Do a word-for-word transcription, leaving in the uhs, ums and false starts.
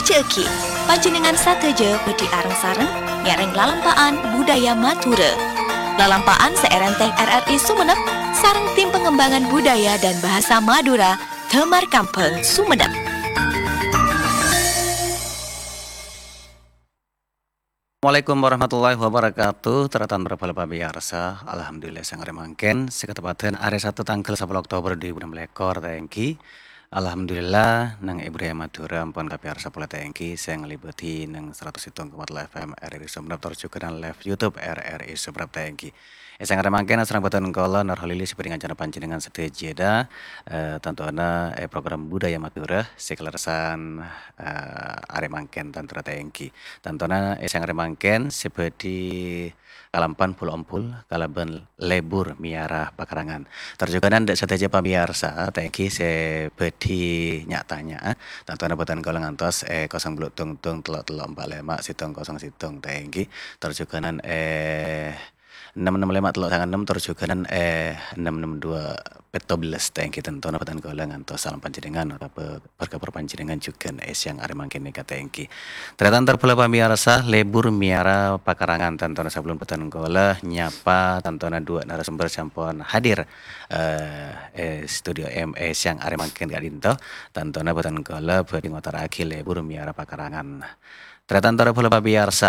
Jhâghi, panjhennengngan sadhâjâ bhâdhi areng-sareng ngèrèng lalampa'an budaya Madhurâ. Lalampa'an sè èrèntèng R R I Sumenep sareng Tim Pengembangan Budaya dan Bahasa Madura, Damar Kambhâng, Sumenep. Assalamualaikum warahmatullahi wabarakatuh. Tarètan para pamiyarsa, alhamdulillah, sèngko' arè mangkèn, sè kateppaddhân arè Sabtu tangghâl sapolo Oktober dua ribu enam belas ta' ènggi. Alhamdulillah, neng è budaya Madhurâ ampon kapèyarsa polè ta' ènggi, sè ngalèbâdhi neng saratus sèttong koma tello F M R R I Sumenep tor jhughân live YouTube R R I Sumenep ta' ènggi. È sèngko' arè mangkèn asareng bhâdhân kaulâ Nur Kholili sè bhâdhi ngancana panjhennengngan sadhâjâ, eh, tantona è program Budaya Madhurâ sè kalerressan, eh, arè mangkèn tantona ta' ènggi. Tantona è sèngko' arè mangkèn sè bhâdhi kalampan bhul-ombhul kalabân lebur mèyara pakarangan. Tor jhughân dâ' sadhâjâ pamiyarsa ta' ènggi sè bhâdhi nya'-tanya', tantona bhâdhân kaulâ ngantos è kosong bâllu' tong-tong tello' tello' empa' lèma' sèttong kosong sèttong ta' ènggi. Tor jhughân è ennem ennem lèma' tello' sanga ennem tor jhughân è ennem ennem dua pètto bellâs ta' ènggi tantona bhâdhân kaulâ ngantos salam panjhennengngan otabâ berkabar panjhennengngan jhughân è sèyang arè mangkèn nèka ta' ènggi. Tarètan tor bhâlâ pamiyarsa, lebur mèyara pakarangan tantona sabellunna bhâdhân kaulâ nyapa tantona dua narasumber sè ampon hadir, eh, è studio M E sèyang arè mangkèn ka'dinto. Tantona bhâdhân kaulâ bhâdhi ngotarraghi lebur mèyara pakarangan. Tarètan tor bhâlâ pamiyarsa,